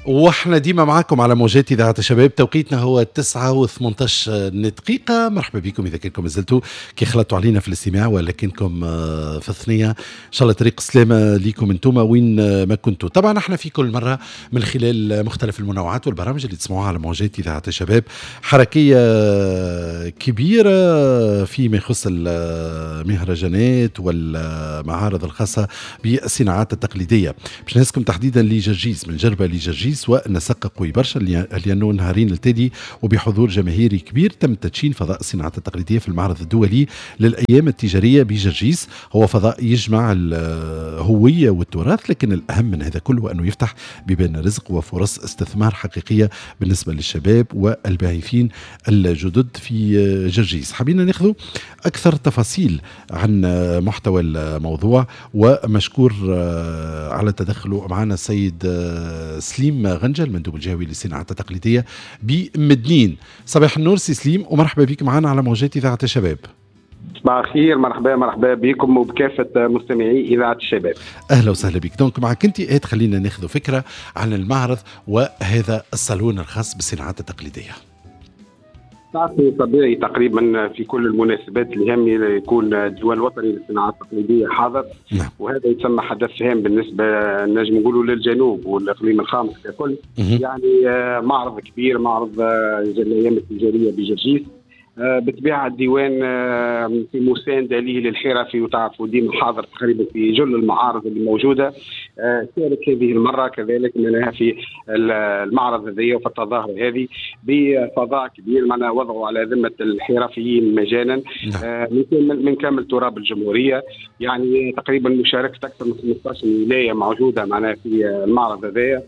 واحنا ديما معاكم على موجات اذاعة الشباب. توقيتنا هو 9:18 دقيقه. مرحبا بكم اذا كنكم مازلتوا كي خلطتوا علينا في الاستماع ولكنكم في الثنيه، ان شاء الله طريق السلامة ليكم انتم وين ما كنتوا. طبعا احنا في كل مرة من خلال مختلف المنوعات والبرامج اللي تسمعوها على موجات اذاعة الشباب حركية كبيرة فيما يخص المهرجانات والمعارض الخاصة بالصناعات التقليديه. باش نهزكم تحديدا لجرجيس، من جربه لجرجيس، ونسق قوي برشا لانه نهارين التالي وبحضور جماهيري كبير تم تدشين فضاء الصناعات التقليدية في المعرض الدولي للايام التجارية بجرجيس. هو فضاء يجمع الهوية والتراث، لكن الاهم من هذا كله انه يفتح بيبان رزق وفرص استثمار حقيقية بالنسبة للشباب والباعثين الجدد في جرجيس. حبينا ناخذ اكثر تفاصيل عن محتوى الموضوع، ومشكور على تدخله معنا السيد سليم غنجة المندوب الجهوي للصناعات التقليدية بمدنين. صباح النور سي سليم ومرحبا بك معنا على موجات إذاعة الشباب. صباح الخير، مرحبا مرحبا بكم وبكافة مستمعي إذاعة الشباب. أهلا وسهلا بك. donc معك أنت خلينا ناخذ فكرة عن المعرض وهذا الصالون الخاص بالصناعات التقليدية. تعرفوا طبيعي تقريبا في كل المناسبات الهامة يكون الديوان الوطني للصناعات التقليدية حاضر. نعم. وهذا يتسمى حدث هام بالنسبة نجم نقولوا للجنوب والاقليم الخامس ككل. يعني معرض كبير، معرض الايام التجارية بجرجيس. بطبيعة الديوان في مساندة ليه للحرفي، وتعرفوا ديما حاضر تقريبا في جل المعارض اللي موجودة. شارك هذه المرة كذلك منها في المعرض هذه وفي التظاهرة هذه بفضاء كبير معنا وضعوا على ذمه الحرفيين مجانا. من كامل تراب الجمهورية. يعني تقريبا مشاركة اكثر من 15 ولاية موجودة معنا في المعرض هذايا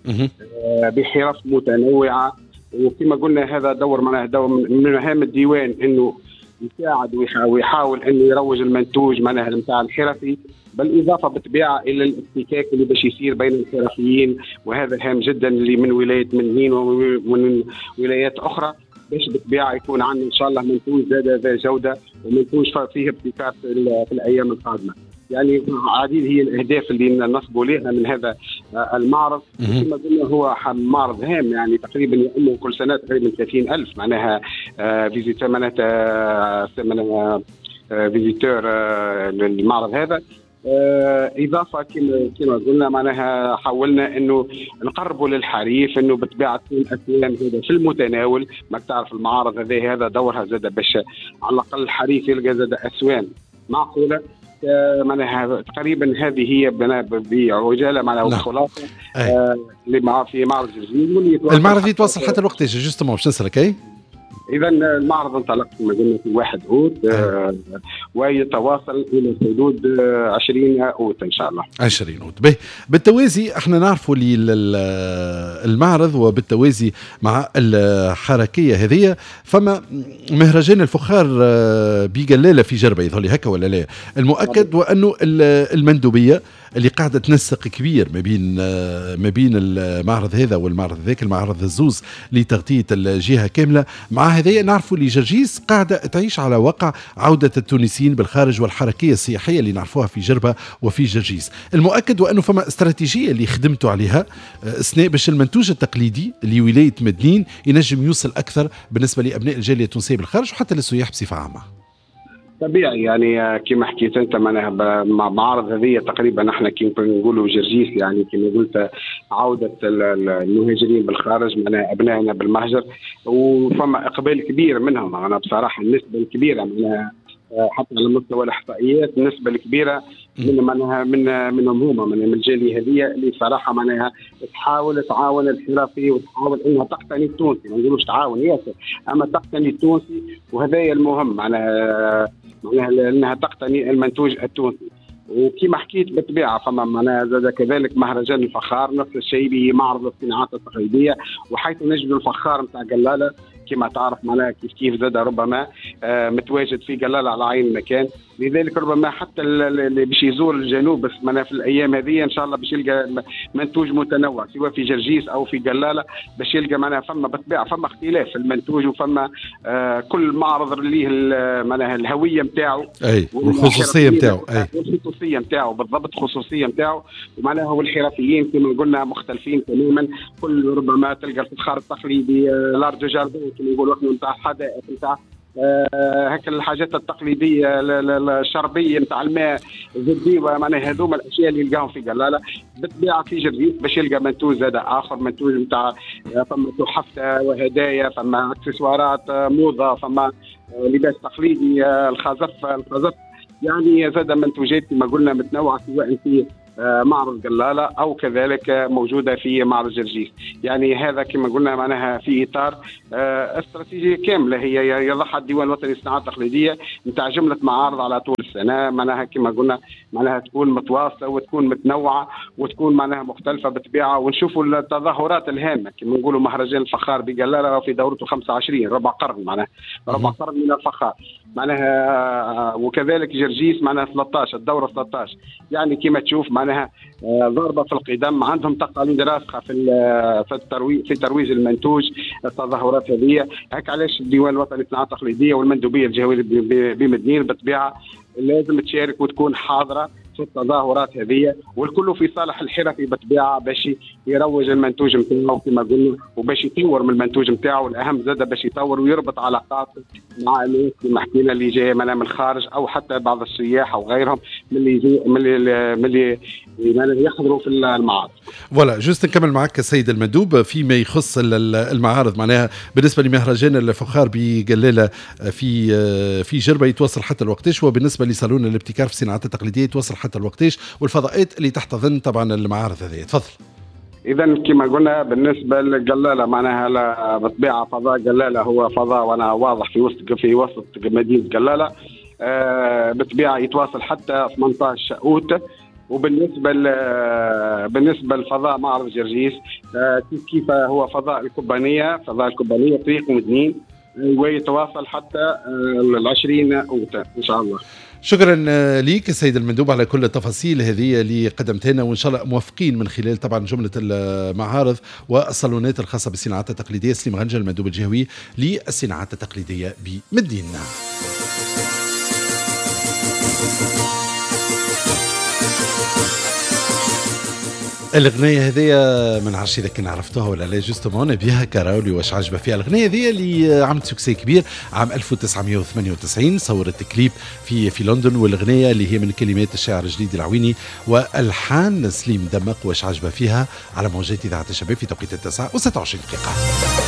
بحرف متنوعة. وكما قلنا هذا دور معناه دور من مهام الديوان انه يساعد ويحاول انه يروج المنتوج معناها نتاع الحرفي، بالاضافة بالطبيعة الى الاحتكاك اللي باش يصير بين الحرفيين، وهذا هام جدا اللي من ولاية مدنين ومن ولايات اخرى، باش بالطبيعة يكون عندنا ان شاء الله منتوج زاد ذا جوده ومنتوج فيه ابتكار في الايام القادمة. يعني عديد هي الاهداف اللي نصبوا لها من هذا المعرض. كما قلنا هو معرض هام، يعني تقريبا يؤمه كل سنة تقريبا 30,000 معناها visiteur، معناتها visiteur للمعرض هذا. اضافه كما قلنا معناها حاولنا انه نقربوا للحريف، انه بالطبيعة تكون اسوام هذا في المتناول. ما تعرف المعارض هذا دورها زاد باش على الاقل الحريف يلقى زاد اسوام معقولة. معناها تقريبا هذه هي بعجاله معناها وخلاصة اللي مع في معرض جرجيس. المعرض يتواصل حتى الوقت justement باش نسالك. اي اذا المعرض انطلق كما قلنا في 1 اوت ويتواصل الى حدود 20 اوت ان شاء الله. 20 اوت. به بالتوازي احنا نعرفوا المعرض، وبالتوازي مع الحركية هذه فما مهرجان الفخار بجلاله في جربه، يظهر لي هكا ولا لا؟ المؤكد وانه المندوبيه اللي قاعدة تنسق كبير ما بين المعرض هذا والمعرض ذاك، المعرض الزوز لتغطيه الجهة كاملة. مع هذا نعرفوا اللي جرجيس قاعدة تعيش على وقع عوده التونسيين بالخارج والحركيه السياحية اللي نعرفوها في جربه وفي جرجيس. المؤكد وانه فما استراتيجية اللي خدمتوا عليها اثناء باش المنتوج التقليدي لولاية مدنين ينجم يوصل اكثر بالنسبة لابناء الجالية التونسية بالخارج وحتى للسياح بصفة عامة. طبيعي يعني كما حكيت انت معناها مع معارض هذه تقريبا احنا كما نقولوا جرجيس، يعني كما قلت عوده المهاجرين بالخارج معناها ابنائنا بالمهجر، وفما اقبال كبير منهم. انا بصراحة النسبة الكبيرة معناها حتى على مستوى الاحصائيات النسبة الكبيرة من معناها منهم هما من الجالية هذه اللي صراحة معناها تحاول تعاون الحرفي وتحاول انها تقتني التونسي، ما نقولوش تعاون ياسر اما تقتني التونسي، وهذا المهم معناها انها تقتني المنتوج التونسي. وكما حكيت بالطبيعة فما معناها زاد كذلك مهرجان الفخار نفس الشيء بمعرض الصناعات التقليدية، وحيث نجد الفخار نتاع قلاله كما تعرف معناها كيف كيف زاد ربما متواجد في قلاله على عين المكان. لذلك ربما حتى اللي باش يزور الجنوب بس معناها في الايام هذه ان شاء الله باش يلقى منتوج متنوع سواء في جرجيس او في قلاله، باش يلقى معناها فما بالطبيعة فما اختلاف في المنتوج، وفما كل معرض ليه معناها الهوية نتاعو اي والخصوصيه نتاعو، اي والخصوصيه نتاعو بالضبط، خصوصية نتاعو، ومعناها والحرفيين كما قلنا مختلفين تماما. كل ربما تلقى الفخار التقليدي، l'art de jardin كما يقولوا احنا، نتاع الحدائق، نتاع هكا الحاجات التقليدية الشربيه نتاع الماء الزبديوه، معناها هذوما الاشياء اللي يلقاهم في قلاله. بالطبيعة في جرجيس باش يلقى منتوج زاد اخر، منتوج نتاع فما تحف وهدايا، فما اكسسوارات موضة، فما لباس تقليدي، الخزف، يعني زاد منتوجات كما قلنا متنوعة سواء في معرض قلاله او كذلك موجودة في معرض جرجيس. يعني هذا كما قلنا معناها في اطار استراتيجية كاملة هي يضعها الديوان الوطني للصناعات التقليدية نتاع جملة معارض على طول السنة، معناها كما قلنا معناها تكون متواصلة وتكون متنوعة وتكون معناها مختلفة بالطبيعة. ونشوفوا التظاهرات الهامة كما نقولوا مهرجان الفخار بقلاله في دورته 25، ربع قرن، معناها ربع قرن من الفخار معناها، وكذلك جرجيس معناها 13، الدورة 13. يعني كما تشوف معناها ضربه في القدم، عندهم تقاليد راسخة في الترويج، في ترويج المنتوج، التظاهرات هذه. هيك علاش الديوان الوطني للصناعات التقليدية والمندوبيه الجهوية بمدنين بالطبيعة لازم تشارك وتكون حاضره في التظاهرات هذه، والكل في صالح الحرفي بالطبيعة باش يروج المنتوج نتاعو كما قلنا، وباش يطور من المنتوج نتاعو، والاهم زاد باش يطور ويربط علاقات مع الناس كما حكينا اللي جاية من الخارج او حتى بعض السياح او غيرهم من اللي من اللي يحضروا في المعارض. voilà juste نكمل معك السيد المندوب فيما يخص المعارض، معناها بالنسبة لمهرجان الفخار بقلاله في جربه يتواصل حتى الوقتاش، وبالنسبة لصالون الابتكار في الصناعات التقليدية يتواصل حتى الوقتاش، والفضاءات اللي تحتضن طبعا المعارض هذه. تفضل. اذا كما قلنا بالنسبة للقلاله معناها بالطبيعة فضاء قلاله هو فضاء وانا واضح في وسط مدينة قلاله، بالطبيعة يتواصل حتى 18 اوت. وبالنسبة بالنسبة لفضاء معرض جرجيس كيف هو فضاء الكوبانيه، فضاء الكوبانيه طريق مدنين، ويتواصل حتى 20 اوت ان شاء الله. شكرا لك السيد المندوب على كل التفاصيل هذه اللي قدمتها لنا، وان شاء الله موفقين من خلال طبعا جملة المعارض والصالونات الخاصة بالصناعات التقليدية. سليم غنجه المندوب الجهوي للصناعات التقليدية بمدينة. الأغنية هذه ما نعرفش إذا كان عرفتوها ولا لا، justement نبيها كراولي واش عجبها فيها. الأغنية هذه اللي عملت succès كبير عام 1998، صورت كليب في لندن، والأغنية اللي هي من كلمات الشاعر الجديد العويني وألحان سليم دمق، واش عجبها فيها، على موجات إذاعة الشباب في توقيت 9:26.